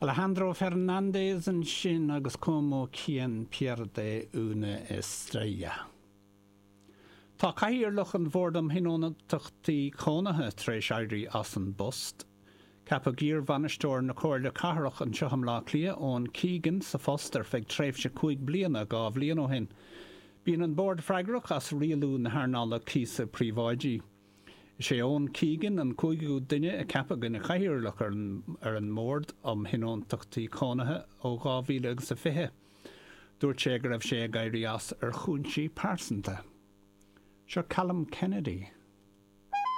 Alejandro Fernández ansin agus Como Quien Pierde Una Estrella. Tá Cathaoirleach an Bhoird um Thionóntachtaí Cónaithe tar éis éirí as an bpost. Ceapadh iarbhainisteoir na Comhairle Cathrach anseo i mBleá Cliath, Eoin Keegan, sa phost ar feadh tréimhse 5 bliana 2 bhliain ó shin. Bíonn an Bord freagrach as rialú na hearnála cíosa príobháidí. Is é Eoin Keegan an cúigiú duine a ceapadh ina chathaoirleach ar an mBord um Thionóntachtaí Cónaithe ó 2020. Dúirt sé go raibh sé ag éirí as ar chúinsí pearsanta. Seo Callum Kennedy.